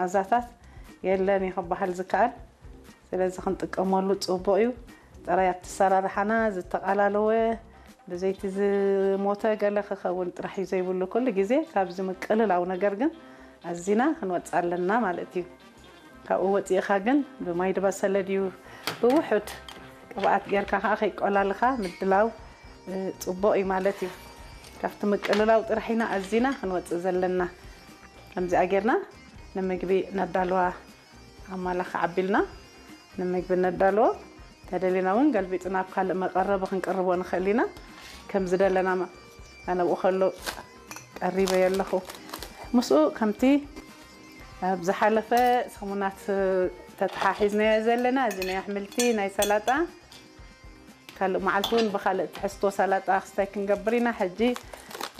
መኣዛታት የለን እዩ ክበሃል ዝከኣል። ስለዚ ክንጥቀመሉ ጽቡቕ እዩ። ጥራይ ኣብቲ ኣሰራርሓና ዝተቓላለወ፣ ብዘይቲ ዝሞተ ገለ ክኸውን ጥራሕ እዩ ዘይብሉ፣ ኩሉ ግዜ ካብዚ ምቅልላው ነገር ግን ኣዚና ክንወጽእ ኣለና ማለት እዩ። ካብኡ ወጺእኻ ግን ብማይ ዝበሰለ ድዩ ብውሑድ ቅብኣት ጌርካ ከዓ ከይቆላልኻ ምድላው፣ እ፣ ጽቡቕ እዩ ማለት እዩ። ካብቲ ምቅልላው ጥራሕ ኢና ኣዚና ክንወጽእ ዘለና። ከምዚኣ ጌርና ንምግቢ ነዳልዋ። ኣማላኽዓ ኣቢልና ንምግቢ ነዳልዎ። ተደሊና እውን ገልቢጥና ኣብ ካልእ መቐረቢ ክንቅርቦ ንኽእል ኢና። ከም ዝደለና መ-፣ ኣነ ኣብኡ ከሎ ቀሪበዮ ኣለኹ። ምስኡ ከምቲ ኣብ ዝሓለፈ ሰሙናት ተተሓሒዝናዮ ዘለና፣ እዚ ናይ ኣሕምልቲ፣ ናይ ሰላጣ፣ ካልእ መዓልቲ እውን ብኻልእ ትሕዝቶ ሰላጣ ክስታይ ክንገብር ኢና። ሕጂ፣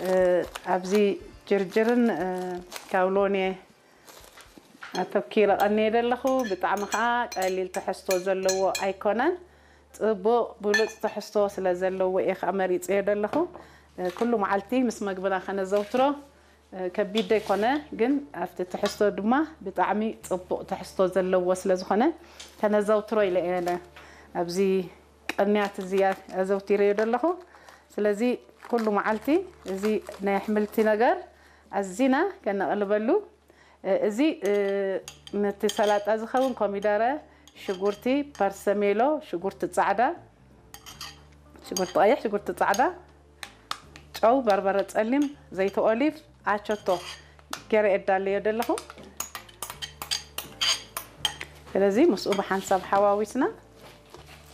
እ፣ ኣብዚ ጅርጅርን፣ እ፣ ካውሎን እየ ኣተኪረ ቀንየ ዘለኹ። ብጣዕሚ ከዓ ቀሊል ትሕዝቶ ዘለዎ ኣይኮነን። ጽቡቕ ብሉጽ ትሕዝቶ ስለ ዘለዎ እየ ከዓ መሪጸዮ ዘለኹ። እ፣ ኩሉ መዓልቲ ምስ መግብና ከነዘውትሮ፣ እ፣ ከቢድ ዘይኮነ፣ ግን ኣብቲ ትሕዝቶ ድማ ብጣዕሚ ጽቡቕ ትሕዝቶ ዘለዎ ስለ ዝኾነ ከነዘውትሮ ኢለ እየ ኣብዚ ቅንያት እዚ ኣዘውቲረዮ ዘለኹ። ስለዚ ኩሉ መዓልቲ እዚ ናይ ኣሕምልቲ ነገር ኣዚና ከነቕልበሉ። እ፣ እዚ፣ እ፣ ነቲ ሰላጣ ዝኸውን ኮሚደረ፣ ሽጉርቲ፣ ፐርሰሜሎ፣ ሽጉርቲ ጻዕዳ፣ ሽጉርቲ ቀይሕ፣ ሽጉርቲ ጻዕዳ፣ ጨው፣ በርበረ ጸሊም፣ ዘይቲ ኦሊቭ፣ ኣቸቶ ገይረ የዳለዮ ዘለኹ። ስለዚ ምስኡ ብሓንሳብ ሓዋዊስና